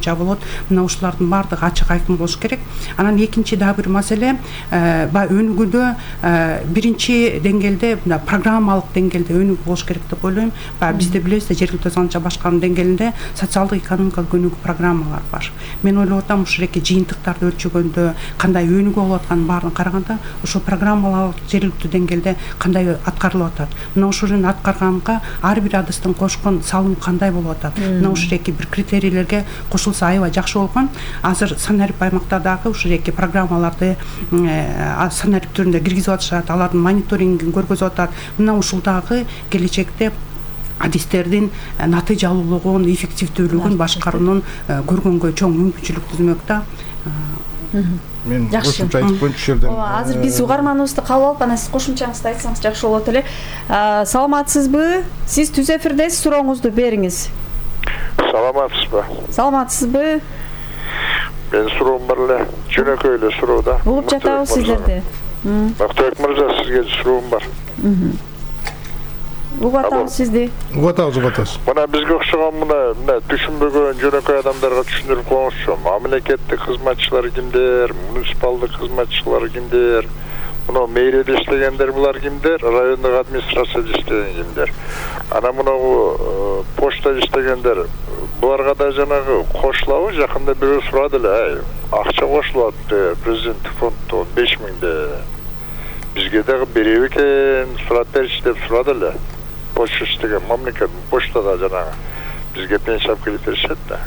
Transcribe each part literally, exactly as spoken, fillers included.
боюнча болот. Мына ушулардын баардыгы ачык айкын болуш керек. Анан экинчи дагы бир маселе баягы өнүгүүдө биринчи деңгээлде мына программалык деңгээлде өнүгүү болуш керек деп ойлойм. Баягы бизде билесиздер жергиликтүү азаматча башкаруу деңгээлинде социалдык экономикалык өнүгүү программалар бар. Мен ойлоп атам ушул эки жыйынтыктарды өлчөгөндө кандай өнүгүү болуп атканын баарын караганда ушул программалар жергиликтүү деңгээлде кандай аткарылып атат. Мына ушуну аткарганга ар бир адыстын кошкон салымы кандай болуп атат. Мына ушул эки бир критерийлерге кошулса аябай жакшы болгон. Азыр санарип аймактардагы ушул эки программаларды санарип түрүндө киргизип атышат, алардын мониторингин көргөзүп атат. Мына ушул дагы келечекте адистердин натыйжалуулугун, эффективдүүлүгүн башкаруунун көргөнгө чоң мүмкүнчүлүк түзмөк да. Мен кошумча айтып коеюнчу жерден. Ооба, азыр биз угарманыбызды кабыл алып, анан сиз кошумчаңызды айтсаңыз жакшы болот эле. Саламатсызбы? Сиз түз эфирдесиз, сурооңузду бериңиз. Саламатсызбы? Саламатсызбы? Мен суроом бар эле, жөнөкөй эле суроо да. Угуп жатабыз сиздерди. Мактабек мырза, сизге суроом бар. Угуп атабыз сизди. Угуп атабыз, угуп атабыз. Мына бизге окшогон мына мына түшүнбөгөн жөнөкөй адамдарга түшүндүрүп коюңузчу. Мамлекеттик кызматчылар кимдер, муниципалдык кызматчылар кимдер, мына мэрияда иштегендер булар кимдер, райондук администрацияда иштеген кимдер. Анан мына почтада иштегендер буларга да жанагы кошулабы? Жакында бирөө сурады эле, акча кошулат президенттик фонддон беш миңде. Бизге дагы береби экен, сурап берчи деп сурады эле. Почта иштеген мамлекет почтада жанагы бизге пенсия алып келип беришет да.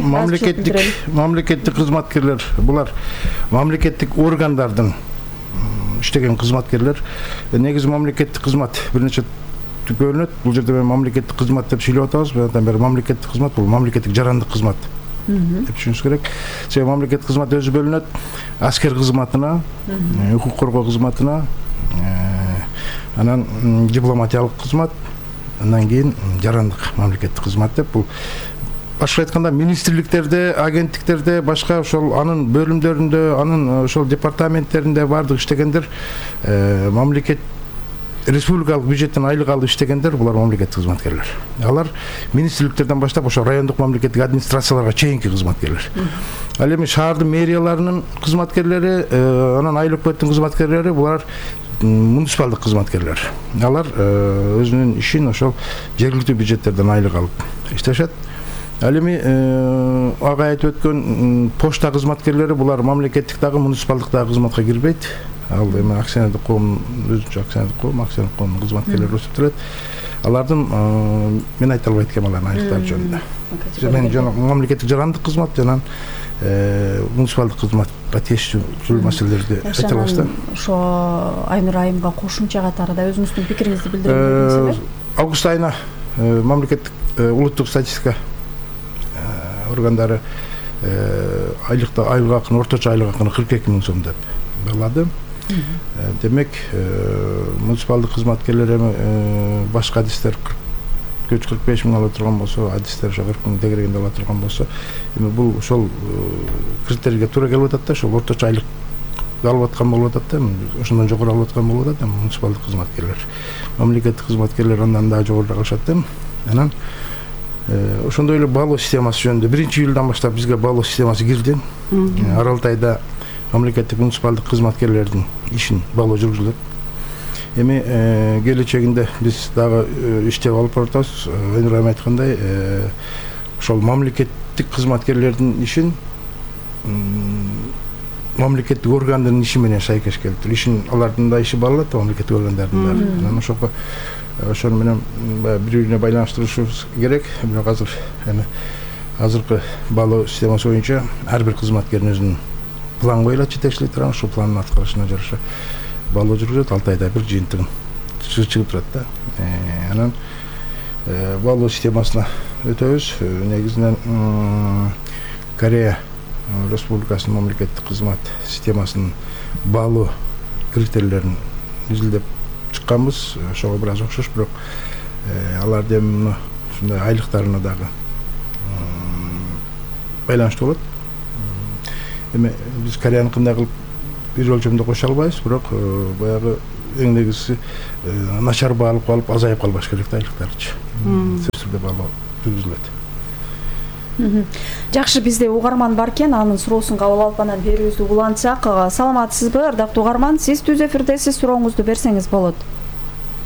Мамлекеттик мамлекеттик кызматкерлер булар мамлекеттик органдардын иштеген кызматкерлер. Негизи мамлекеттик кызмат бир нече бөлүнөт. Бул жерде мен мамлекеттик кызмат деп сүйлөп атабыз. Мындан бери мамлекеттик кызмат бул мамлекеттик жарандык кызмат деп түшүнүш керек. Себеби мамлекеттик кызмат өзү бөлүнөт. Аскер кызматына, укук коргоо кызматына, анан дипломатиялык кызмат, андан кийин жарандык мамлекеттик кызмат деп бул башка айтканда министрликтерде, агенттиктерде, башка ошол анын бөлүмдөрүндө, анын ошол департаменттеринде бардык иштегендер мамлекет республикалык бюджеттен айлык алып иштегендер булар мамлекеттик кызматкерлер. Алар министрликтерден баштап ошо райондук мамлекеттик администрацияларга чейинки кызматкерлер. Ал эми шаардын мэрияларынын кызматкерлери, анан айлык өкмөттүн кызматкерлери булар муниципалдык кызматкерлер. Алар өзүнүн ишин ошол жергиликтүү бюджеттерден айлык алып иштешет. Ал эми ага айтып өткөн почта кызматкерлери булар мамлекеттик дагы муниципалдык дагы кызматка кирбейт. Ал эми акционердик коом өзүнчө акционердик коом, акционердик коомдун кызматкерлери эсептелет. Алардын мен айта албайт экенмин алардын айлыктары жөнүндө. Мен жана мамлекеттик жарандык кызмат жана муниципалдык кызматка тиешелүү маселелерди айта алабыз да. Ошо Айнур айымга кошумча катары да өзүңүздүн пикириңизди билдириңиз. Август айына мамлекеттик улуттук статистика органдары айлыкта айлык акын орточо айлык акын кырк эки миң сом деп баалады. Демек муниципалдык кызматкерлер эми башка адистер кырк беш миң ала турган болсо, адистер ошо кырк миң тегерегинде ала турган болсо, эми бул ошол критерийге туура келип атат да, ошол орточо айлык алып аткан болуп атат да, ошондон жогору алып аткан болуп атат муниципалдык кызматкерлер. Мамлекеттик кызматкерлер андан дагы жогору алышат да. Анан ошондой эле баалоо системасы жөнүндө биринчи июлдан баштап бизге баалоо системасы кирди. Аралтайда мамлекеттик муниципалдык кызматкерлердин ишин баалоо жүргүзүлөт. Эми келечегинде биз дагы иштеп алып баратабыз. Айнур айым айткандай, ошол мамлекеттик кызматкерлердин ишин мамлекеттик органдын иши менен шайкеш келтирип, ишин алардын да иши бааланат, мамлекеттик органдардын да. Анан ошого ошону менен бири-бирине байланыштырышыбыз керек. Бирок азыр эми азыркы баалоо системасы боюнча ар бир кызматкердин өзүнүн план коюлат жетекчилик тарабынан, ошол пландын аткарышына жараша баалоо жүргүзөт. Алты айда бир жыйынтыгын чыгып турат да. Анан баалоо системасына өтөбүз. Негизинен Корея Республикасынын мамлекеттик кызмат системасынын баалоо критерийлерин изилдеп чыкканбыз. Ошого бир аз окшош, бирок аларды эми ушундай айлыктарына дагы байланыштуу болот. Эми биз Кореяныкындай кылып бир өлчөмдө кошо албайбыз, бирок баягы эң негизгиси начар баалып калып, азайып калбаш керек да айлыктарчы. жерде балоо жүргүзүлөт. Жакшы, бизде угарман бар экен, анын суроосун кабыл алып анан берүүбүздү улантсак. Саламатсызбы, ардактуу угарман? Сиз түз эфирдесиз, сурооңузду берсеңиз болот.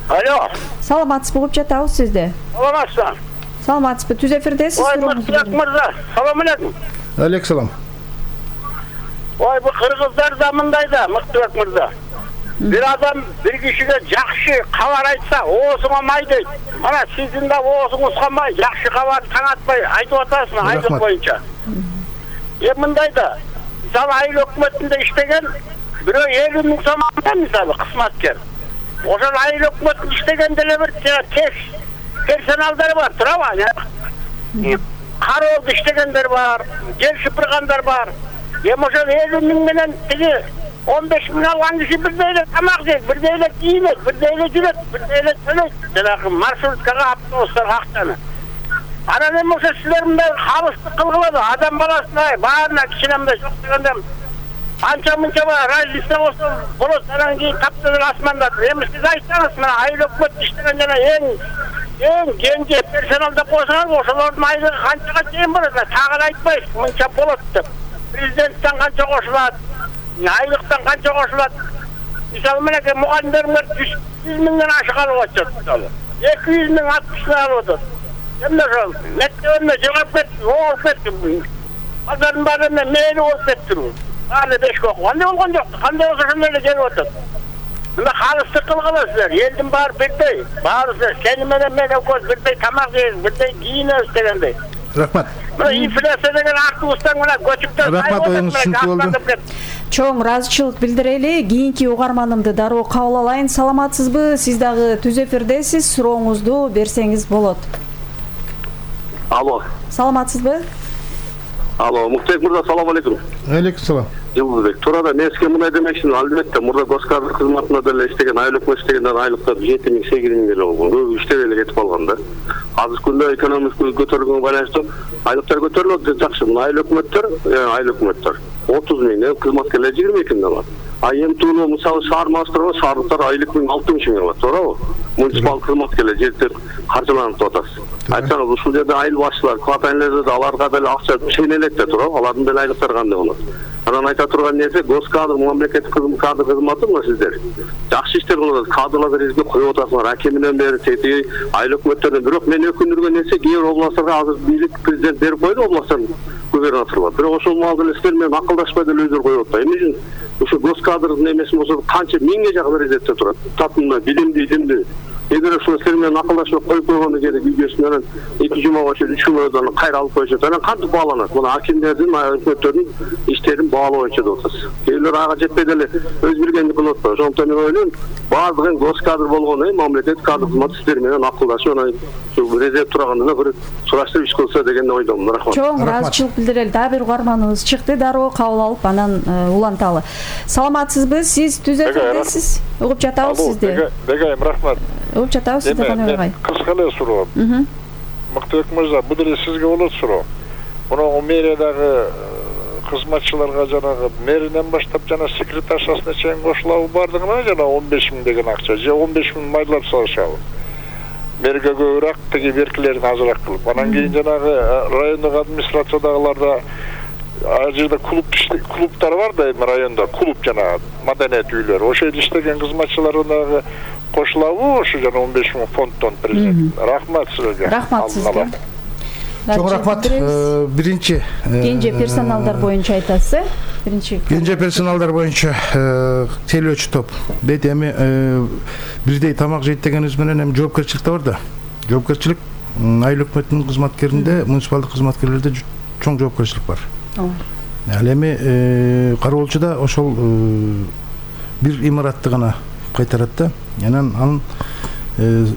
Алло. Саламатсызбы, угуп жатабыз сизди. Саламатсызбы. Саламатсызбы, түз эфирдесиз, сурооңузду бериңиз. Ой, мырза, салам алейкум. Алейкум салам. Ой, бу кыргыздар да мындай да, Мыктыбек мырза. Бир адам бир кишиге жакшы кабар айтса, оозуңа май дейт. Мана сиздин да оозуңузга май, жакшы кабар таңатпай айтып атасыз, айлык боюнча. Э мындай да. Мисалы, айыл өкмөтүндө иштеген бирөө элүү миң сом алган, мисалы, кызматкер. Ошол айыл өкмөтүндө иштегенде эле бир тез персоналдар бар, турабы? Кароолду иштегендер бар, жер шыпыргандар бар. Эми ошол элүү миң менен тиги он беш миң алган киши бирдей эле тамак жейт, бирдей эле кийинет, бирдей эле жүрөт, бирдей эле төлөйт. Жанагы маршруткага, автобустарга акчаны. Анан эми ошо силер мындай кабыстык кылгылады, адам баласына баарына кичине мындай жок дегенде анча-мынча бар, разница болсо болот, анан кийин таптыр асманда. Эми сиз айтсаңыз, мына айыл өкмөт иштеген жана эң эң кенже персоналда кошсоңуз, ошолордун айлыгы канчага чейин болот? Тагы айтпайсыз, мынча болот деп. Президенттен канча кошулат, айлыктан канча кошулат. Мисалы, менеке мугалимдериңер жүз миңден ашык алып атышат, мисалы. эки жүз миң алтымыш алып атат. Эмне ошол мектебине жогоп кетти, окуп кетти. Базардын баары менен мээли болуп кетти. Аны бешке окуп. Кандай болгон жок, кандай болсо ошондой эле келип атат. Мына калыстык кылгыла силер, элдин баары бирдей. Баарыбыз сени менен мен экөөбүз бирдей тамак жейбиз, бирдей кийинебиз дегендей. Рахмат. Мына инфляция деген автобустан мына көчүптөр. Рахмат, оюңуз түшүнүктүү болду. Чоң ыраазычылык билдирели. Кийинки угарманымды дароо кабыл алайын. Саламатсызбы? Сиз дагы түз эфирдесиз, сурооңузду берсеңиз болот. Алло. Саламатсызбы? Алло, Муктек мырза, салам алейкум. Алейкум салам. Жылдыбек, туурада мен сизге мындай демекчимин, албетте мурда госкадр кызматында деле иштеген, айыл өкмөт иштегендер айлыктар жети миң сегиз миң эле болгон. Көбү иштебей эле кетип калган да. Азыркы күндө экономика көтөрүлгөнгө байланыштуу айлыктар көтөрүлөт, жакшы. Мына айыл өкмөттөр, айыл өкмөттөр отуз миң, кызматкерлер жыйырма эки миң алат. А эми тууну мисалы шаар маастырга шаардыктар айлык миң алтымыш миң алат, туурабы? Муниципал кызматкерлер жерде каржыланып атасыз. Айтсаңыз, ушул жерде айыл башчылар, кварталдерде аларга деле акча чейнелет да, туурабы? Алардын деле айлыктары кандай болот? Анан айта турган нерсе, госкадр, мамлекеттик кадр кызматы мына сиздер. Жакшы иштер кылып, кадрларды бизге коюп атасыңар. Акиминен бери тети айыл өкмөттөрдөн. Бирок мен өкүндүргөн нерсе, кээ бир областтарга азыр бийлик президент берип койду, областтын губернаторлор. Бирок ошол маалда эле силер менен акылдашпай деле өздөрү коюп атат. Эмне үчүн ушу госкадрдын эмеси болсо канча миңге жакын резервде турат. Татымда билимди, илимди. Эгер ошол силер менен акылдашып коюп койгондо кээде видеосун анан эки жумага чейин үч жумадан кайра алып коюшат. Анан кантип бааланат? Мына акимдердин, өкмөттөрдүн иштерин баалоо боюнча деп атасыз. Кээбирлер ага жетпей деле өз билгенди кылып атпайбы. Ошондуктан мен ойлойм, баардыгын госкадр болгону, мамлекет кадр кызматы сиздер менен акылдашып, анан ушу резерв турганда бир сураштырып иш кылса деген ойдомун. Рахмат. Чоң ыраазычылык билдирели. Дагы бир угарманыбыз чыкты, дароо кабыл алып анан уланталы. Саламатсызбы? Сиз түз эфирдесиз. Угуп жатабыз сизди. Бегайым, рахмат. Угуп жатабыз сизди, кандай багай? Кыска эле суроо. Мыктыбек мырза, бул деле сизге болот суроо. Муну мэриядагы кызматчыларга жанагы мэринен баштап жана секретаршасына чейин кошулабы бардыгына жана он беш миң деген акча, же он беш миң майлап салышабы. Мэрге көбүрөөк, тиги беркилерин азыраак кылып. Анан кийин жанагы райондук администрациядагыларда ал жерде клуб клубтар бар да, эми районда клуб жана маданият үйлөр. Ошол жерде иштеген кызматчыларына кошулабы ошо жана он беш миң фонддон президент. Рахмат силерге. Рахмат сизге. Чоң рахмат. Биринчи кенже персоналдар боюнча айтасыз, э? Биринчи кенже персоналдар боюнча тейлөөчү топ. Дейт эми бирдей тамак жейт дегенибиз менен эми жоопкерчилик да бар да. Жоопкерчилик айыл өкмөтүнүн кызматкеринде, муниципалдык кызматкерлерде чоң жоопкерчилик бар. Ал эми кароолчуда ошол бир имаратты гана кайтарат да. Анан анын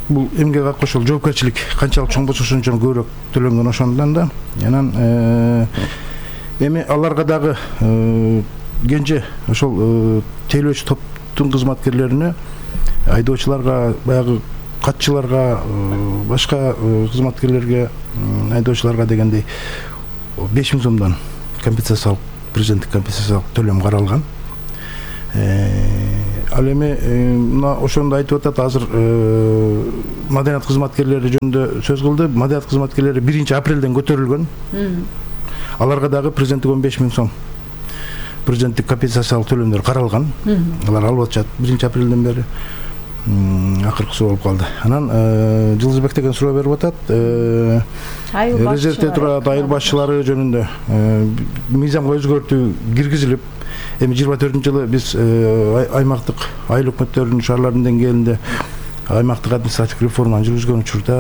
бул эмгек акы ошол жоопкерчилик канчалык чоң болсо ошончо көбүрөөк төлөнгөн ошондон да. Анан эми аларга дагы кенже ошол тейлөөчү топтун кызматкерлерине, айдоочуларга, баягы катчыларга, башка кызматкерлерге, айдоочуларга дегендей беш миң сомдон компенсациялык, президенттик компенсациялык төлөм каралган. Ал эми мына ошондо айтып атат, азыр маданият кызматкерлери жөнүндө сөз кылды. Маданият кызматкерлери биринчи апрелден көтөрүлгөн. Аларга дагы президенттик он беш миң сом президенттик компенсациялык төлөмдөр каралган. Алар алып атышат биринчи апрелден бери. Акыркысы болуп калды. Анан Жылдызбек деген суроо берип атат. Резервде турат айыл башчылары жөнүндө мыйзамга өзгөртүү киргизилип, эми жыйырма төртүнчү жылы биз аймактык айыл өкмөттөрүнүн шаарлардын деңгээлинде аймактык административдик реформаны жүргүзгөн учурда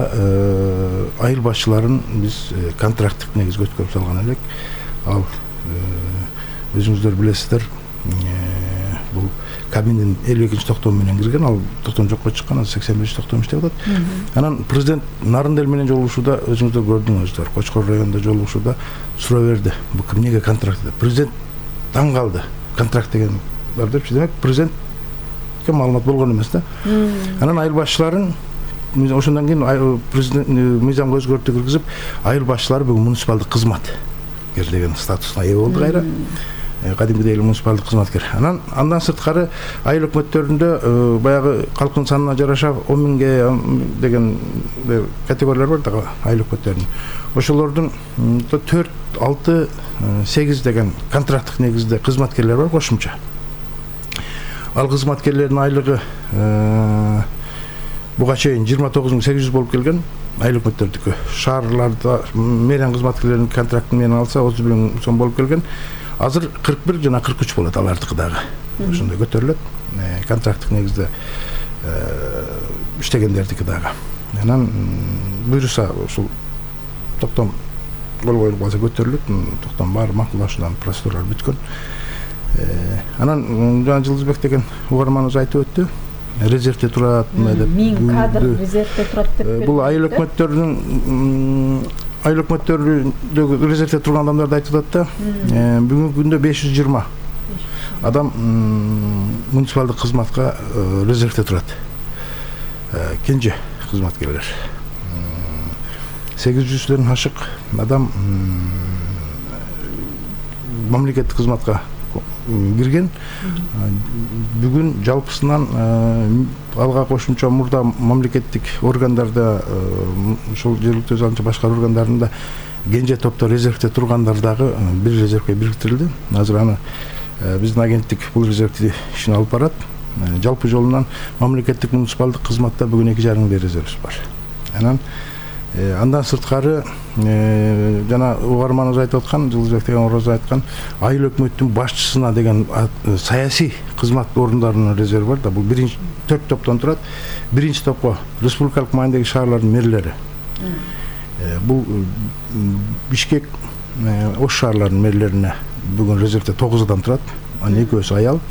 айыл башчыларын биз контракттык негизге өткөрүп салган элек. Ал өзүңүздөр билесиздер, бул Кабиндин элүү экинчи токтому менен кирген, ал токтом жокко чыккан, азыр сексен беш токтом иштеп атат. Анан президент Нарындел менен жолугушууда өзүңүздөр көрдүңүздөр, Кочкор районунда жолугушууда суроо берди. Бул ким эмнеге контракт деп? Президент таң калды. Контракт деген бар депчи. Демек президентке маалымат болгон эмес да. Анан айыл башчыларын ошондон кийин президент мыйзамга өзгөртүү киргизип, айыл башчылары бүгүн муниципалдык кызматкер деген статусуна ээ болду кайра. Кадимгидей эле муниципалдык кызматкер. Анан андан сырткары айыл өкмөттөрүндө баягы калктын санына жараша он миңге деген категориялар бар да айыл өкмөттөрүнүн. Ошолордун төрт, алты, сегиз деген контракттык негизде кызматкерлер бар кошумча. Ал кызматкерлердин айлыгы буга чейин жыйырма тогуз миң сегиз жүз болуп келген. Айыл өкмөттөрдүкү. Шаарларда мэрия кызматкерлеринин контрактын менен алса отуз бир миң сом болуп келген. Азыр кырк бир жана кырк үч болот алардыкы дагы. Ошондой көтөрүлөт. Контракттык негизде иштегендердики дагы. Анан буйруса ушул токтом кол коюлуп калса көтөрүлөт. Токтом баары макулдашуудан процедуралар бүткөн. Анан жана Жылдызбек деген угарманыбыз айтып өттү. Резервде турат деп. Миң кадр резервде турат деп. Бул айыл өкмөттөрүнүн айыл өкмөттөрүндөгү резервде турган адамдарды айтып атат да. Бүгүнкү күндө беш жүз жыйырма адам муниципалдык кызматка резервде турат. Кенже кызматкерлер. сегиз жүздөн ашык адам мамлекеттик кызматка кирген. Бүгүн жалпысынан алга кошумча мурда мамлекеттик органдарда, ошол жергиликтүү өз алдынча башкаруу органдарында кенже топто резервде тургандар дагы бир резервге бириктирилди. Азыр аны биздин агенттик бул резервди ишин алып барат. Жалпы жолунан мамлекеттик муниципалдык кызматта бүгүн эки жарым миң резервибиз бар. Анан андан сырткары жана угарманыбыз айтып аткан, Жылдызбек деген ороз айткан, айыл өкмөттүн башчысына деген саясий кызмат орундарынын резерви бар да. Бул биринчи төрт топтон турат. Биринчи топко республикалык маанидеги шаарлардын мэрлери. Бул Бишкек, Ош шаарларынын мэрлерине бүгүн резервде тогуз адам турат. Анын экөөсү аял.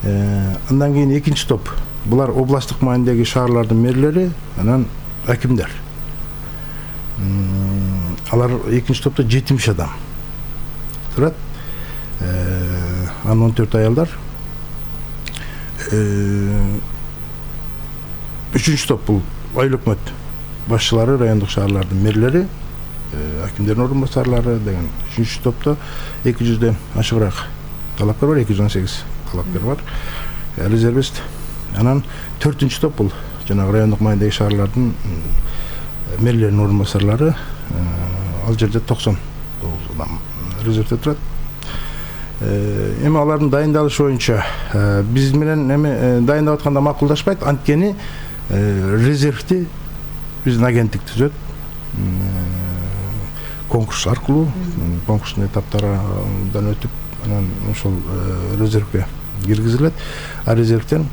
Андан кийин экинчи топ. Булар областтык маанидеги шаарлардын мэрлери, анан акимдер. Алар экинчи топто жетимиш адам турат. Анан он төрт аялдар. Үчүнчү топ бул айыл өкмөт башчылары, райондук шаарлардын мэрлери, акимдердин орун басарлары деген. Үчүнчү топто эки жүздөн ашыгыраак талапкер бар, эки жүз он сегиз талапкер бар. Резервист. Анан төртүнчү топ бул жанагы райондук маанидеги шаарлардын мэрлердин орун басарлары. Ал жерде токсон тогуз адам резервде турат. Эми алардын дайындалышы боюнча биз менен эми дайындап атканда макулдашпайт. Анткени резервди биздин агенттик түзөт. Конкурс аркылуу, конкурстун этаптарынан өтүп, анан ошол резервге киргизилет. А резервден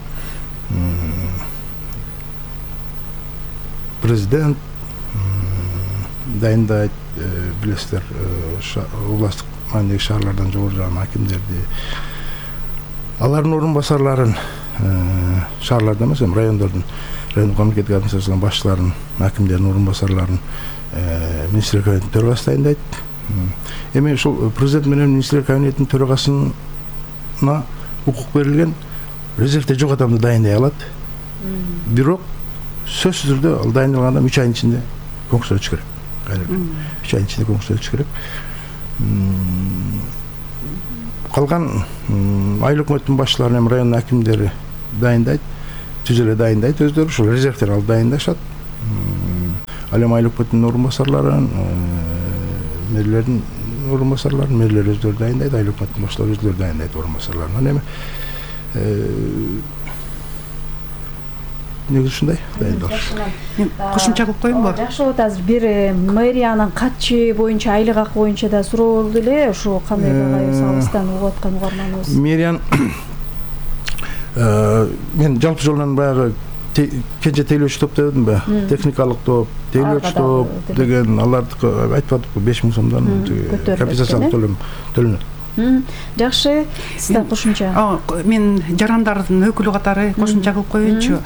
президент дайындайт, билесиздер, областтык маанидеги шаарлардан жогору жаган акимдерди, алардын орун басарларын, шаарларда эмес, эми райондордун, райондук мамлекеттик администрациянын башчыларын, акимдердин орун басарларын министрлер кабинетинин төрагасы дайындайт. Эми ушул президент менен министрлер кабинетинин төрагасына укук берилген, резервде жок адамды дайындай алат. Бирок сөзсүз түрдө ал дайындалган адам үч айдын ичинде конкурска өтүш керек. үч айдын ичинде конкурска өтүш керек. Калган айыл өкмөттүн башчылары, эми район акимдери дайындайт, түз эле дайындайт өздөрү, ушул резервдер алып дайындашат. Ал эми айыл өкмөтүнүн орун басарларын, мэрлердин орун басарларын мэрлер өздөрү дайындайт, айыл өкмөтүнүн башталары өздөрү дайындайт орун басарларын. Анан эми негизи ушундай дайындалыш. Кошумча кылып коеюнбу? Жакшы болот. Азыр бир мэриянын катчы боюнча, айлык акы боюнча да суроо болду эле. Ошо кандай кайы салыстан угуп аткан угарманыбыз. Мэриянын мен жалпы жолунан баягы кенже тейлөөчү топ дедим ба, техникалык топ, тейлөөчү топ деген алардыкы айтып атыппы беш миң сомдон компенсациялык төлөм төлөнөт. Жакшы, сизден кошумча. Мен жарандардын өкүлү катары кошумча кылып коеюнчу.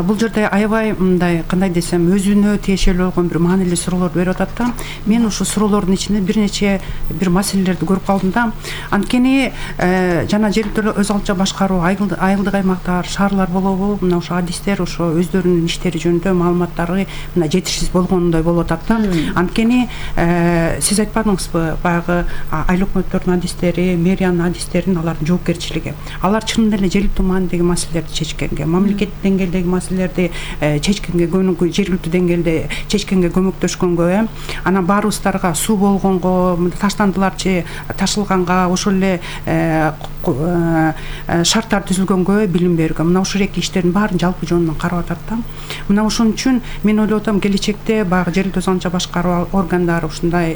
Бул жерде аябай мындай кандай десем, өзүнө тиешелүү болгон бир маанилүү суроолорду берип атат да. Мен ушул суроолордун ичинде бир нече бир маселелерди көрүп калдым да. Анткени жана жергиликтүү өз алдынча башкаруу, айылдык аймактар, шаарлар болобу, мына ошо адистер ошо өздөрүнүн иштери жөнүндө маалыматтары мына жетишсиз болгондой болуп атат да. Анткени сиз айтпадыңызбы, баягы айыл өкмөттөрдүн адистери, мэриянын адистерин, алардын жоопкерчилиги. Алар чынында эле жергиликтүү маанидеги маселелерди чечкенге, мамлекеттик деңгээлдеги маселелерди чечкенге, жергиликтүү деңгээлде чечкенге көмөктөшкөнгө, э, анан баарыбыздарга суу болгонго, таштандыларчы ташылганга, ошол эле шарттар түзүлгөнгө билим берүүгө, мына ушул эки иштердин баарын жалпы жөнүнөн карап атат да. Мына ошон үчүн мен ойлоп атам, келечекте баягы жергиликтүү өз алдынча башкаруу органдары ушундай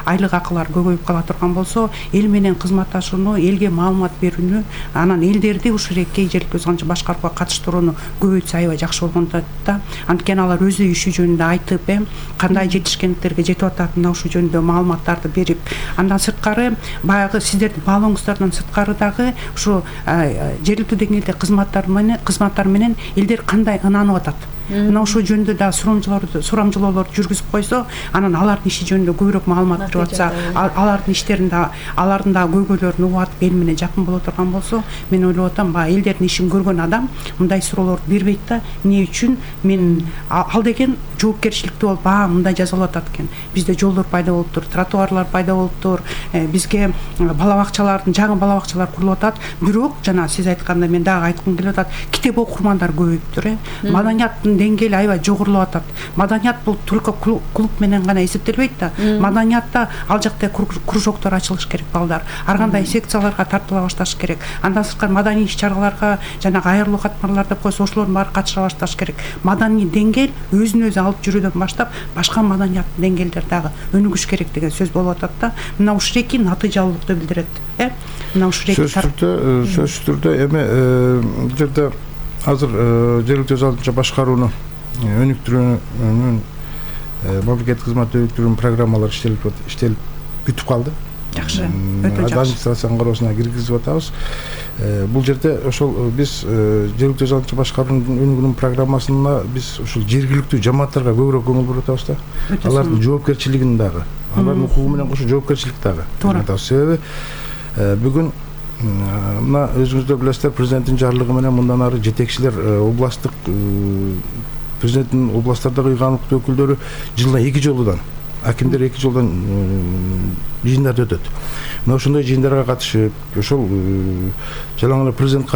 айлык акылар көбөйүп кала турган болсо, эл менен кызматташууну, элге маалымат берүүнү, анан элдерди ушул эки жергиликтүү өз алдынча башкарууга катыштырууну көбөйтсө аябай жакшы болгон да. Анткени алар өзү иши жөнүндө айтып, э, кандай жетишкендиктерге жетип атат, мына ушул жөнүндө маалыматтарды берип, андан сырткары баягы сиздердин баалооңуздардан сырткары дагы ушу жергиликтүү деңгээлде кызматтар менен кызматтар менен элдер кандай ынанып атат. Мына ошол жөнүндө да сурамжылоолорду сурамжылоолорду жүргүзүп койсо, анан алардын иши жөнүндө көбүрөөк маалымат берип атса, алардын иштерин да, алардын да көйгөйлөрүн угуп атып эл менен жакын боло турган болсо, мен ойлоп атам, баягы элдердин ишин көргөн адам мындай суроолорду бербейт да. Эмне үчүн? Мен ал деген жоопкерчиликтүү болуп, баа мындай жазалап атат экен. Бизде жолдор пайда болуптур, тротуарлар пайда болуптур, бизге бала бакчалардын, жаңы бала бакчалар курулуп атат. Бирок жана сиз айткандай мен дагы айткым келип атат, китеп окурмандар көбөйүптүр, э. Маданияттын деңгээли аябай жогорулап атат. Маданият бул только клуб менен гана эсептелбейт да. Маданиятта ал жакта кружоктор ачылыш керек балдар. Ар кандай секцияларга тартыла башташ керек. Андан сырткары маданий иш-чараларга, жанагы айрылуу катмарлар деп койсо, ошолордун баары катыша башташ керек. Маданий деңгээл өзүн өзү алып жүрүүдөн баштап, башка маданияттын деңгээлдер дагы өнүгүш керек деген сөз болуп атат да. Мына ушул эки натыйжалуулукту билдирет, э. Мына ушул эки сөзсүз түрдө, сөзсүз түрдө эми бул жерде азыр жергиликтүү өз алдынча башкарууну өнүктүрүүнүн мамлекеттик кызмат өнүктүрүүнүн программалары иштелип иштелип бүтүп калды. Жакшы, өтө жакшы. Администрациянын кароосуна киргизип атабыз. Бул жерде ошол биз жергиликтүү өз алдынча башкаруунун өнүгүүнүн программасына биз ушул жергиликтүү жамааттарга көбүрөөк көңүл буруп атабыз да. Алардын жоопкерчилигин дагы, алардын укугу менен кошо жоопкерчилик дагы. Себеби бүгүн мына өзүңүздөр билесиздер, президенттин жарлыгы менен мындан ары жетекчилер областтык президенттин областтардагы ыйган укуктуу өкүлдөрү жылына эки жолудан, акимдер эки жолдан жыйындарды өтөт. Мына ошондой жыйындарга катышып, ошол жалаң эле президент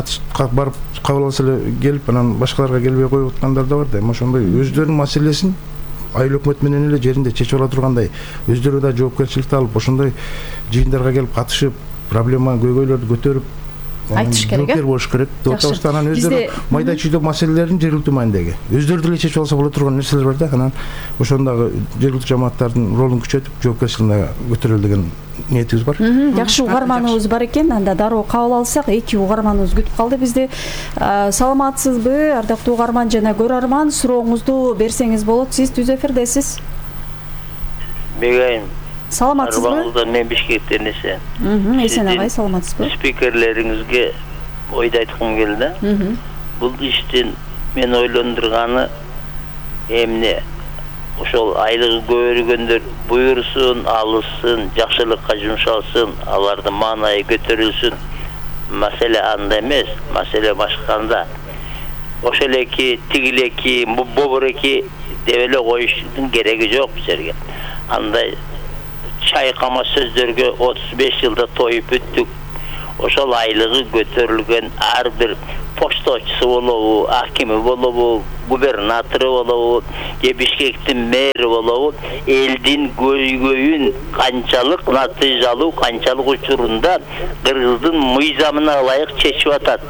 барып кабыл алса эле келип, анан башкаларга келбей коюп аткандар да бар да. Эми ошондой өздөрүнүн маселесин айыл өкмөт менен эле жеринде чечип ала тургандай, өздөрү да жоопкерчиликти алып, ошондой жыйындарга келип катышып, проблема көйгөйлөрдү көтөрүп айтыш керек, жоопкер болуш керек деп атабыз. Анан өздөрү майда чүйдө маселелерин жергиликтүү маанидеги өздөрү деле чечип алса боло турган нерселер бар да. Анан ошондагы жергиликтүү жамааттардын ролун күчөтүп, жоопкерчилигин көтөрөлү деген ниетибиз бар. Жакшы, угарманыбыз бар экен. Анда дароо кабыл алсак, эки угарманыбыз күтүп калды бизди. Саламатсызбы, ардактуу угарман жана көрөрман? Сурооңузду берсеңиз болот. Сиз түз эфирдесиз. Бегайым. Саламатсызбы? Арбаңыздан мен Бишкектен эсен. Эсен агай, саламатсызбы? Спикерлериңизге ойду айткым келди. Бул иштин мен ойлондурганы эмне? Ошол айлыгы көбөйгөндөр буйрусун, алышсын, жакшылыкка жумшалсын, алардын маанайы көтөрүлсүн. Маселе анда эмес, маселе башканда. Ошол эки, тигилеки, бобуреки деп эле коюштун кереги жок бул жерге. Андай чайкама сөздөргө отуз беш жылда тоюп бүттүк. ошол айлыгы көтөрүлгөн ар бир почточусу болобу, акими болобу, губернатору болобу, же Бишкектин мэри болобу, элдин көйгөйүн канчалык натыйжалуу, канчалык учурунда кыргыздын мыйзамына ылайык чечип атат.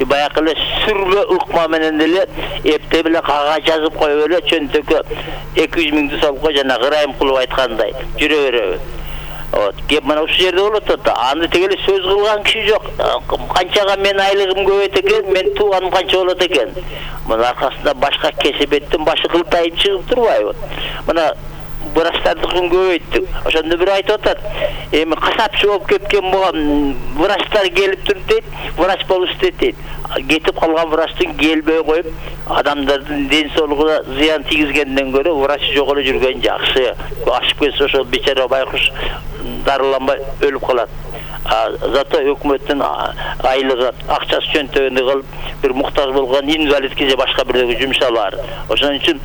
Баягы эле сүрмө ыкма менен эле эптеп эле кагаз жазып коюп эле чөнтөккө эки жүз миңди салып кой, жана Ырайымкулов айткандай жүрө береби. Вот, кеп мына ушул жерде болот да. Аны тегеле сөз кылган киши жок. Канчага мен айлыгым көбөйт экен, мен тууганым канча болот экен. Мына аркасында башка кесепеттин башы кылтайып чыгып турбайбы? Мына врачтардыкын көбөйттүк. Ошондо бир айтып атат. Эми касапчы болуп кеткен болгон врачтар келип туруп дейт, врач болуп истейт дейт. Кетип калган врачтын келбей коюп, адамдардын ден соолугуна зыян тийгизгенден көрө врач жок эле жүргөн жакшы. Ашып кетсе ошо бечара байкуш дарыланбай өлүп калат. Зато өкмөттүн айлыгы, акчасы чөнтөгүндө калып, бир муктаж болгон инвалидке же башка бирөөгө жумшалар. Ошон үчүн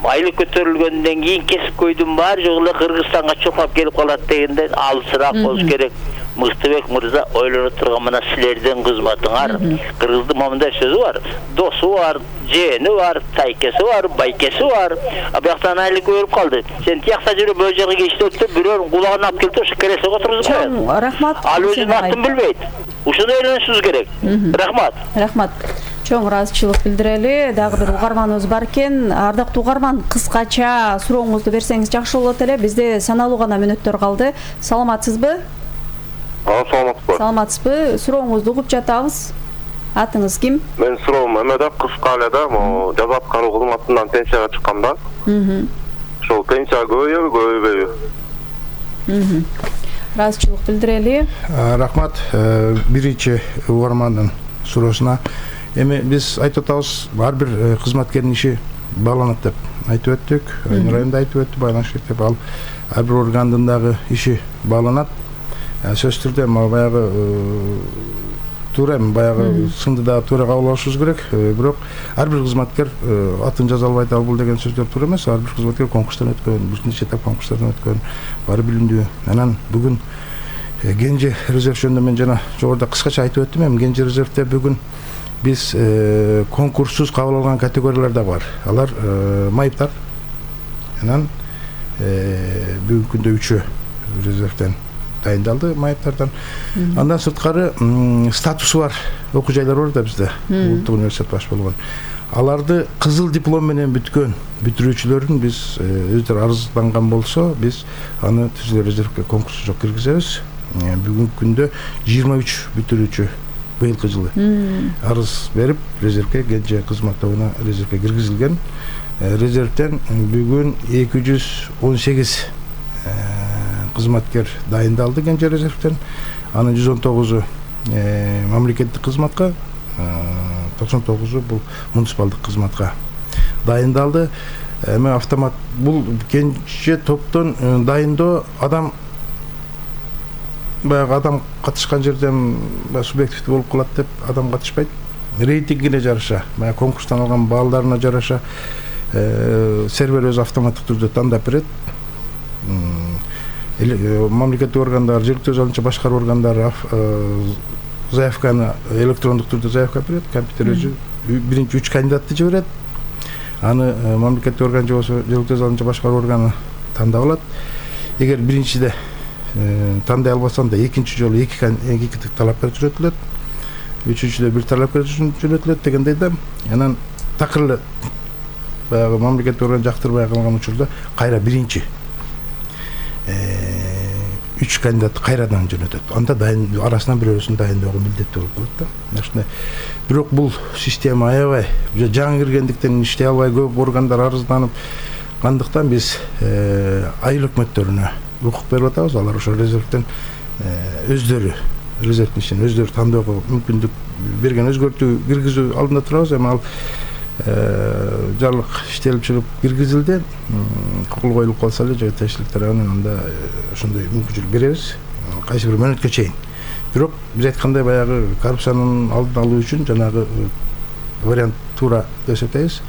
айлык көтөрүлгөндөн кийин кесип көйдүн баары жок эле Кыргызстанга чоңоп келип калат дегенде алысыраак болуш керек. Мыктыбек мырза ойлоно турган мына силердин кызматыңар. Кыргыздын момундай сөзү бар. Досу бар, жээни бар, тайкеси бар, байкеси бар. А бияктан айлык көрүп калды. Сен тиякта жүрүп бул жерге иштетип, бирөөнүн кулагына алып келип ошо кересиге отургузуп коет. Рахмат. Ал өзүнүн атын билбейт. Ушуну ойлонушубуз керек. Рахмат. Рахмат. Чоң ыраазычылык билдирели. Дагы бир угарманыбыз бар экен. Ардактуу угарман, кыскача сурооңузду берсеңиз жакшы болот эле. Бизде саналуу гана мүнөттөр калды. Саламатсызбы? Саламатсызбы. Саламатсызбы? Сурооңузду угуп жатабыз. Атыңыз ким? Мен суроом эмеде кыска эле да, могу жаза аткаруу кызматынан пенсияга чыкканда. Мм. Ошол пенсия көбөйбү, көбөйбөйбү? Мм. Ыраазычылык билдирели. Рахмат биринчи угармандын суроосуна. Эми биз айтып атабыз, ар бир кызматкердин иши бааланат деп айтып өттүк. Айнур айында айтып өттү, байланыш керек деп. Ал ар бир органдын дагы иши бааланат. Сөзсүз түрдө баягы туура эми баягы сынды дагы туура кабыл алышыбыз керек. Бирок ар бир кызматкер атын жаза албайт, ал бул деген сөздөр туура эмес. Ар бир кызматкер конкурстан өткөн, бир нече этап конкурстардан өткөн, баары билимдүү. Анан бүгүн Кенже резерв жөнүндө мен жана жогоруда кыскача айтып өттүм. Эми Кенже резервде бүгүн биз конкурссуз кабыл алган категориялар да бар. Алар майыптар. Анан бүгүнкү күндө үчөө резервден дайындалды майыптардан. Андан сырткары статусу бар окуу жайлар бар да бизде. Улуттук университет баш болгон. Аларды кызыл диплом менен бүткөн бүтүрүүчүлөрүн биз өздөрү арызданган болсо, биз аны түзүлө резервге конкурс жок киргизебиз. Бүгүнкү күндө жыйырма үч бүтүрүүчү быйылкы жылы арыз берип резервге Кенже кызмат тобуна резервге киргизилген. Резервден бүгүн эки жүз он сегиз кызматкер дайындалды Кенже резервден. Анын жүз он тогузу мамлекеттик кызматка, токсон тогузу бул муниципалдык кызматка дайындалды. Эми автомат бул Кенже топтон дайындоо адам баягы адам катышкан жерден субъективдүү болуп калат деп адам катышпайт. Рейтингине жараша, баягы конкурстан алган балларына жараша сервер өзү автоматтык түрдө тандап берет. Мамлекеттик органдар, жергиликтүү өз алынча башкаруу органдары заявканы электрондук түрдө заявка берет, компьютер өзү биринчи үч кандидатты жиберет. Аны мамлекеттик орган же болсо жергиликтүү өз алынча башкаруу органы тандап алат. Эгер биринчиде тандай албасам да экинчи жолу эки эки талапкер жөнөтүлөт. Үчүнчүдө бир талапкер жөнөтүлөт дегендей да. Анан такыр эле баягы мамлекеттик орган жактырбай калган учурда кайра биринчи үч кандидат кайрадан жөнөтөт. Анда дайын арасынан бирөөсүн дайындоого милдеттүү болуп калат да. Ошондой. Бирок бул система аябай жаңы киргендиктен иштей албай көп органдар арызданып кандыктан биз айыл өкмөттөрүнө укук берип атабыз. Алар ошо резервден өздөрү резервдин ишин өздөрү тандоого мүмкүндүк берген, өзгөртүү киргизүү алдында турабыз. Эми ал жарлык иштелип чыгып киргизилди. Кол коюлуп калса эле жеке тиешелик тарабынан анда ошондой мүмкүнчүлүк беребиз. Кайсы бир мөөнөткө чейин. Бирок биз айткандай баягы коррупциянын алдын алуу үчүн жанагы вариант туура деп эсептейбиз.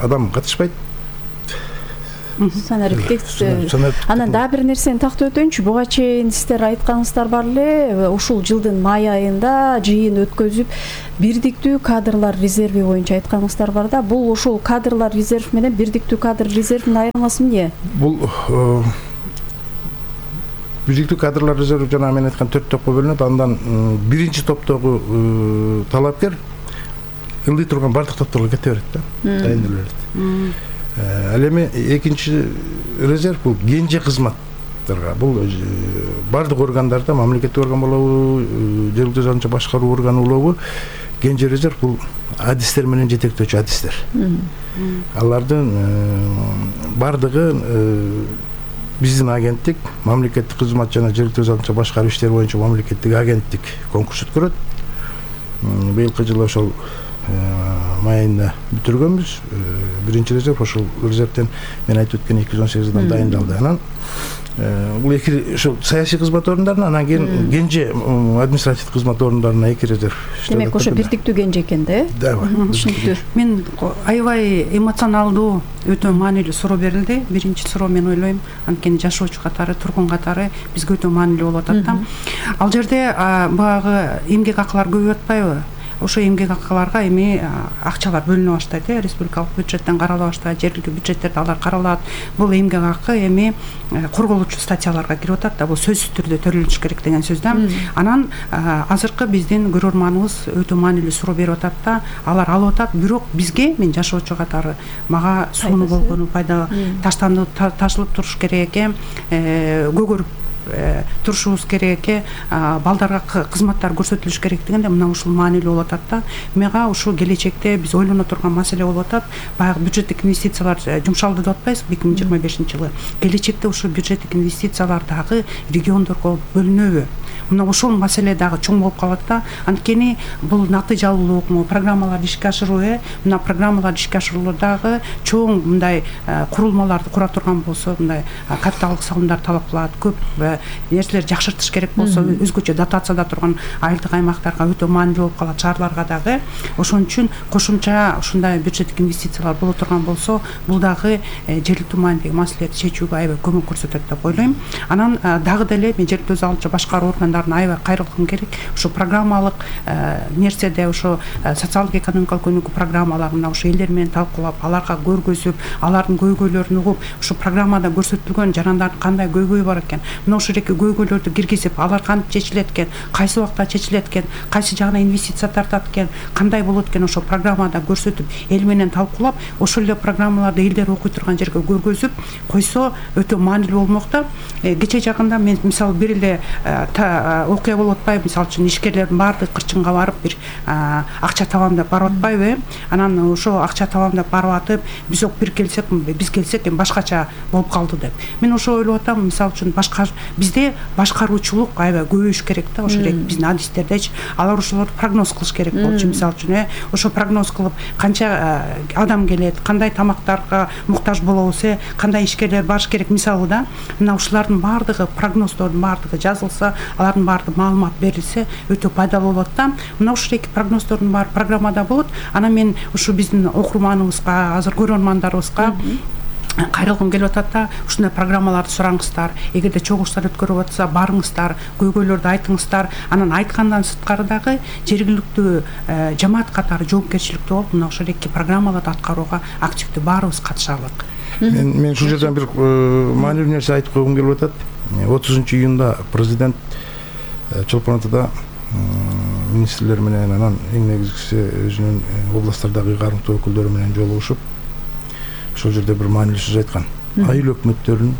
Адам катышпайт. санариптик. Анан дагы бир нерсени тактап өтөйүнчү. Буга чейин сиздер айтканыңыздар бар эле, ушул жылдын май айында жыйын өткөзүп бирдиктүү кадрлар резерви боюнча айтканыңыздар бар да. Бул ушул кадрлар резерв менен бирдиктүү кадр резервинин айырмасы эмне? Бул бирдиктүү кадрлар резерви жана мен айткан төрт топко бөлүнөт. Андан биринчи топтогу талапкер ылдый турган бардык топторго кете берет да, дайындала берет. Ал эми экинчи резерв бул кенже кызматтарга. Бул бардык органдарда, мамлекеттик орган болобу, жергиликтүү өзү башкаруу органы болобу, кенже резерв бул адистер менен жетектөөчү адистер. Алардын бардыгы биздин агенттик, мамлекеттик кызмат жана жергиликтүү өзү башкаруу иштери боюнча мамлекеттик агенттик конкурс өткөрөт. Быйылкы жылы ошол май айында бүтүргөнбүз. Биринчи резерв ошол резервден мен айтып өткөн эки жүз он сегиз адам дайындалды. Анан бул эки ошол саясий кызмат орундарына, анан кийин кенже административдик кызмат орундарына эки резерв иштеп. Демек ошо бирдиктүү кенже экен да, э? Да, түшүнүктүү. Мен аябай эмоционалдуу, өтө маанилүү суроо берилди. Биринчи суроо мен ойлойм, анткени жашоочу катары, тургун катары бизге өтө маанилүү болуп атат да. Ал жерде баягы эмгек акылар көбөйүп атпайбы? Ошо эмгек акыларга эми акчалар бөлүнө баштайт, э, республикалык бюджеттен карала баштайт, жергиликтүү бюджеттерде алар каралат. Бул эмгек акы эми корголуучу статьяларга кирип атат да, бул сөзсүз түрдө төлөнүш керек деген сөз да. Анан азыркы биздин көрөрманыбыз өтө маанилүү суроо берип атат да, алар алып атат, бирок бизге, мен жашоочу катары, мага сууну болгону пайда, таштанып ташылып туруш керек экен, көгөрүп турушубуз керек экен, балдарга кызматтар көрсөтүлүш керек дегенде мына ушул маанилүү болуп атат да. Мага ушул келечекте биз ойлоно турган маселе болуп атат. Баягы бюджеттик инвестициялар жумшалды деп атпайбызбы эки миң жыйырма бешинчи жылы. Келечекте ушул бюджеттик инвестициялар дагы региондорго бөлүнөбү? Мына ошол маселе дагы чоң болуп калат да. Анткени бул натыйжалуулукму, программаларды ишке ашыруу, э, мына программаларды ишке ашыруудагы чоң мындай курулмаларды кура турган болсо, мындай капиталдык салымдар талап кылат, көп нерселер жакшыртыш керек болсо, өзгөчө дотацияда турган айылдык аймактарга өтө маанилүү болуп калат, шаарларга дагы. Ошон үчүн кошумча ушундай бюджеттик инвестициялар боло турган болсо, бул дагы жергиликтүү маанидеги маселелерди чечүүгө аябай көмөк көрсөтөт деп ойлойм. Анан дагы деле мен жергиликтүү өзү башкаруу органдарына аябай кайрылгым керек. Ушу программалык нерседе, ошо социалдык экономикалык өнүгүү программаларына ошо элдер менен талкуулап, аларга көргөзүп, алардын көйгөйлөрүн угуп, ушу программада көрсөтүлгөн жарандардын кандай көйгөйү бар экен, мына ушул көйгөйлөрдү киргизип, алар кантип чечилет экен, кайсы убакта чечилет экен, кайсы жагына инвестиция тартат экен, кандай болот экен, ошо программада көрсөтүп, эл менен талкуулап, ошол эле программаларды элдер окуй турган жерге көргөзүп койсо өтө маанилүү болмок да. Кече жакында мен мисалы бир эле окуя болуп атпайбы, мисалы үчүн ишкерлердин баардыгы кырчынга барып бир акча табам деп барып атпайбы, анан ошо акча табам деп барып атып, биз бир келсек, биз келсек эми башкача болуп калды деп. Мен ошо ойлоп атам, мисалы үчүн башка бизде башкаруучулук аябай көбөйүш керек да, ошо эле биздин адистердечи, алар ошолорду прогноз кылыш керек болчу, мисалы үчүн, э, ошо прогноз кылып, канча адам келет, кандай тамактарга муктаж болобуз, э, кандай ишкерлер барыш керек, мисалы да, мына ушулардын баардыгы, прогноздордун баардыгы жазылса, алардын баардыгы маалымат берилсе, өтө пайдалуу болот да. Мына ушул эки прогноздордун баары программада болот. Анан мен ушу биздин окурманыбызга, азыр көрөрмандарыбызга кайрылгым келип атат да, ушундай программаларды сураңыздар, эгерде чогулуштар өткөрүп атса барыңыздар, көйгөйлөрдү айтыңыздар. Анан айткандан сырткары дагы жергиликтүү жамаат катары жоопкерчиликтүү болуп, мына ошол эки программаларды аткарууга активдүү баарыбыз катышалык. Мен мен ушул жерден бир маанилүү нерсе айтып койгум келип атат. отузунчу июнда президент Чолпон Атада министрлер менен, анан эң негизгиси өзүнүн областтардагы кармыктуу өкүлдөрү менен жолугушуп, ошол жерде бир маанилүү сөз айткан. Айыл өкмөттөрүн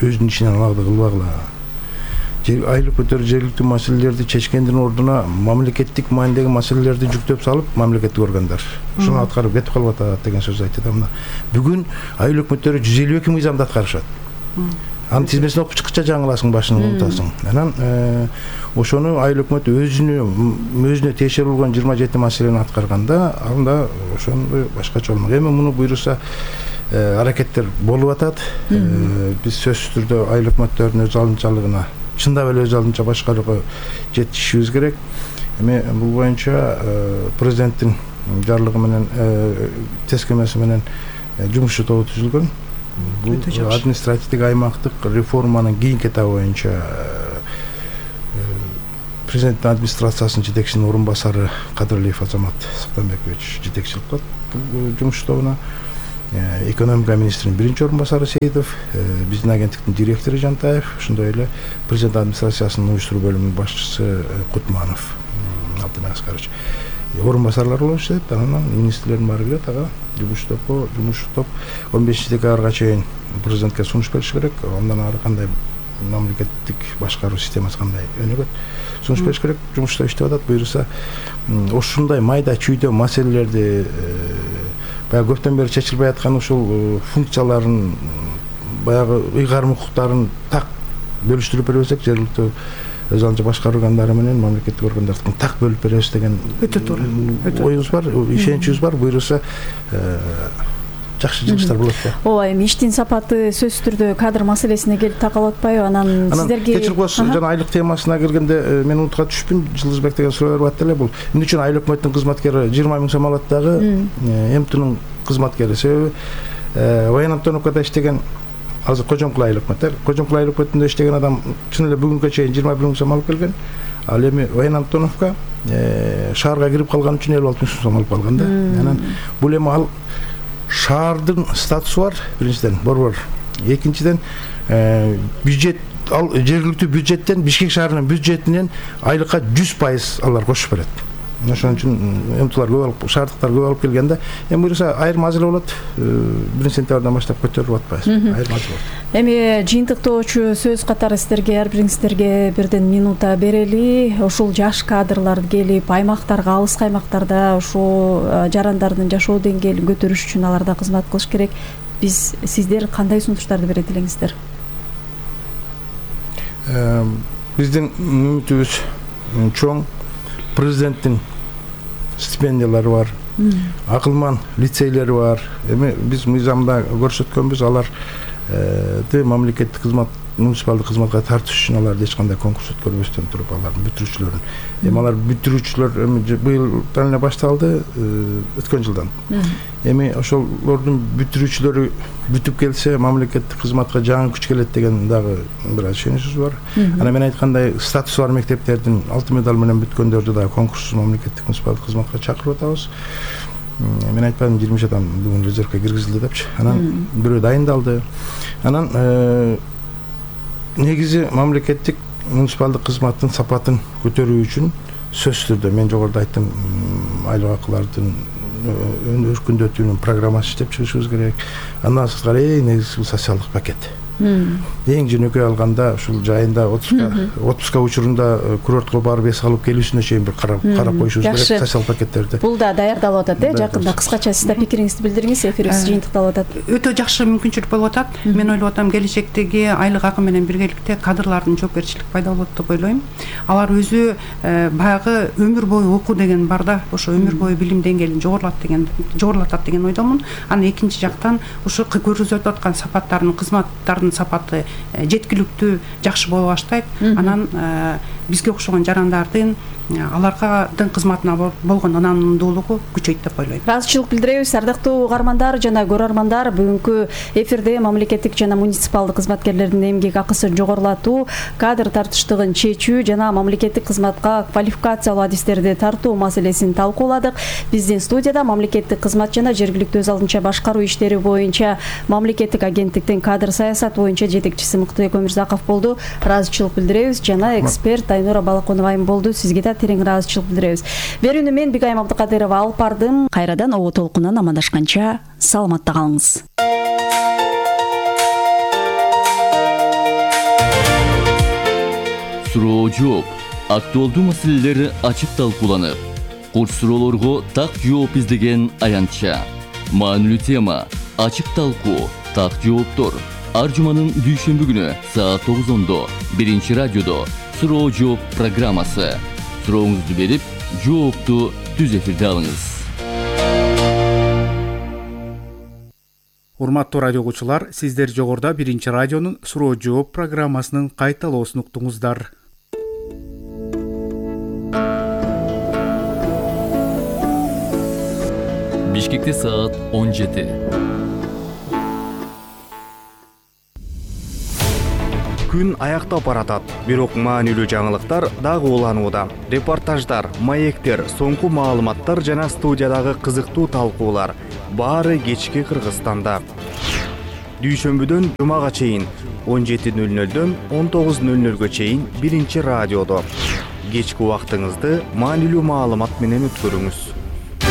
өзүнүн ишинен алакты кылбагыла. Айыл өкмөттөрү жергиликтүү маселелерди чечкендин ордуна мамлекеттик маанидеги маселелерди жүктөп салып, мамлекеттик органдар ушуну аткарып кетип калып атат деген сөз айтты да. Мына бүгүн айыл өкмөттөрү жүз элүү эки мыйзамды аткарышат. Анын тизмесин окуп чыккыча жаңыласың, башын унутасың. Анан ошону айыл өкмөт өзүнө өзүнө тиешелүү болгон жыйырма жети маселени аткарганда, анда ошону башкача болмок. Эми муну буйруса аракеттер болуп атат. Биз сөзсүз түрдө айыл өкмөттөрүнүн өз алдынчалыгына, чындап эле өз алдынча башкарууга жетишибиз керек. Эми бул боюнча президенттин жарлыгы менен, тескемеси менен жумушчу тобу түзүлгөн. Бул административдик аймактык реформанын кийинки этабы боюнча президенттин администрациясынын жетекчисинин орун басары Кадырлиев Азамат Сактанбекович жетекчилик кылат бул жумуш тобуна. Экономика министринин биринчи орун басары Сейитов, биздин агенттиктин директору Жантаев, ошондой эле президент администрациясынын уюштуруу бөлүмүнүн башчысы Кутманов Алтынбек Аскарович орун басарлар болуп иштейт. Анан министрлердин баары келет ага жумуш топко, жумуш топ он бешинчи декабрга чейин президентке сунуш бериш керек. Андан ары кандай мамлекеттик башкаруу системасы кандай өнүгөт, сунуш бериш керек. Жумушта иштеп атат. Буюрса ушундай майда чүйдө маселелерди баягы көптөн бери чечилбей аткан ушул функцияларын баягы ыйгарым укуктарын так бөлүштүрүп бербесек, жергиликтүү өз алдынча башкаруу органдары менен мамлекеттик органдардыкын так бөлүп беребиз деген өтө туура оюбуз бар, ишеничибиз бар. Буюрса жакшы жыгыштар болот да. Ооба, эми иштин сапаты сөзсүз түрдө кадр маселесине келип такалып атпайбы? Анан сиздерге кечирип коесуз, жана айлык темасына келгенде мен унутка түшүпмүн. Жылдызбек деген суроо берип атты эле. Бул эмне үчүн айыл өкмөттүн кызматкери жыйырма миң сом алат дагы МТнын кызматкери? Себеби Баян Антоновкада иштеген азыр Кожомкул айыл өкмөт, Кожомкул айыл өкмөтүндө иштеген адам чын эле бүгүнгө чейин жыйырма бир миң сом алып келген. Ал эми Баян Антоновка шаарга кирип калган үчүн элүү алты миң сом алып калган да. Анан бул эми ал шаардын статусу бар, биринчиден, борбор. Экинчиден, бюджет, ал жергиликтүү бюджеттен, Бишкек шаарынын бюджетинен айлыкка жүз пайыз алар кошуп берет. Ошон үчүн эмтулар көп алып, шаардыктар көп алып келгенде, эми буюрса айрым маселе болот. биринчи сентябрдан баштап көтөрүлүп атпайбыз. Айрым маселе болот. Эми жыйынтыктоочу сөз катары сиздерге, ар бириңиздерге бирден минута берели. Ушул жаш кадрлар келип, аймактарга, алыскы аймактарда ушул жарандардын жашоо деңгээлин көтөрүш үчүн аларда кызмат кылыш керек. Биз сиздер кандай сунуштарды берет элеңиздер? Биздин үмүтүбүз чоң. Президенттин стипендиялары бар, акылман лицейлери бар. Эми биз мыйзамда көрсөткөнбүз, аларды мамлекеттик кызмат, муниципалдык кызматка тартыш үчүн аларды эч кандай конкурс өткөрбөстөн туруп алардын бүтүрүүчүлөрүн. Эми алар бүтүрүүчүлөр эми быйылдан эле башталды, өткөн жылдан. Эми ошолордун бүтүрүүчүлөрү бүтүп келсе, мамлекеттик кызматка жаңы күч келет деген дагы бир ишеничибиз бар. Анан мен айткандай, статусу бар мектептердин алтын медаль менен бүткөндөрдү дагы конкурссуз мамлекеттик муниципалдык кызматка чакырып атабыз. Мен айтпадым, жыйырма үч адам бүгүн резервге киргизилди депчи. Анан бирөө дайындалды. Анан негизи мамлекеттик муниципалдык кызматтын сапатын көтөрүү үчүн сөзсүз түрдө мен жогоруда айттым, айлык акылардын өркүндөтүүнүн программасын иштеп чыгышыбыз керек. Андан сырткары эң негизги социалдык пакет. Эң жөнөкөй алганда ушул жайында отпуска учурунда курортко барып эс алып келүүсүнө чейин бир карап коюшубуз керек социал пакеттерди. Бул да даярдалып атат, э, жакында кыскача сиз да пикириңизди билдириңиз, эфирибиз жыйынтыкталып атат. Өтө жакшы мүмкүнчүлүк болуп атат. Мен ойлоп атам, келечектеги айлык акы менен биргеликте кадрлардын жоопкерчилиги пайда болот деп ойлойм. Алар өзү баягы өмүр бою окуу деген бар да, ошо өмүр бою билим деңгээлин жогорулат деген, жогорулатат деген ойдомун. Анан экинчи жактан ушу көрсөтүп аткан сапаттардын, кызматтардын сапаты жеткиликтүү, жакшы боло баштайт. Анан бизге окшогон жарандардын аларгадын кызматына болгон ынандуулугу күчөйт деп ойлойм. Ыраазычылык билдиребиз, ардактуу угармандар жана көрөрмандар. Бүгүнкү эфирде мамлекеттик жана муниципалдык кызматкерлердин эмгек акысын жогорулатуу, кадр тартыштыгын чечүү жана мамлекеттик кызматка квалификациялуу адистерди тартуу маселесин талкууладык. Биздин студияда мамлекеттик кызмат жана жергиликтүү өз алдынча башкаруу иштери боюнча мамлекеттик агенттиктин кадр саясат боюнча жетекчиси Мыктыбек Өмүрзаков болду. Ыраазычылык билдиребиз жана эксперт Айнура Балаконова айым болду. Сизге да терең ыраазычылык билдиребиз. Берүүнү мен Бигайым Абдыкадырова алып бардым. Кайрадан обо толкунан амандашканча саламатта калыңыз. Суроо жооп. Актуалдуу маселелер ачык талкууланып, курч суроолорго так жооп издеген аянтча. Маанилүү тема, ачык талкуу, так жооптор. Ар жуманын дүйшөмбү күнү саат тогузондо биринчи радиодо суроо жооп программасы. Сурооңузду берип, жоопту түз эфирде алыңыз. Урматтуу радио угуучулар, сиздер жогоруда биринчи радионун суроо жооп программасынын кайталоосун уктуңуздар. Бишкекте саат он жети. күн аяктап баратат, бирок маанилүү жаңылыктар дагы уланууда. Репортаждар, маектер, соңку маалыматтар жана студиядагы кызыктуу талкуулар баары кечки Кыргызстанда. Дүйшөмбүдөн жумага чейин он жети нөл нөлдөн он тогуз нөл нөлгө чейин биринчи радиодо. Кечки убактыңызды маанилүү маалымат менен өткөрүңүз.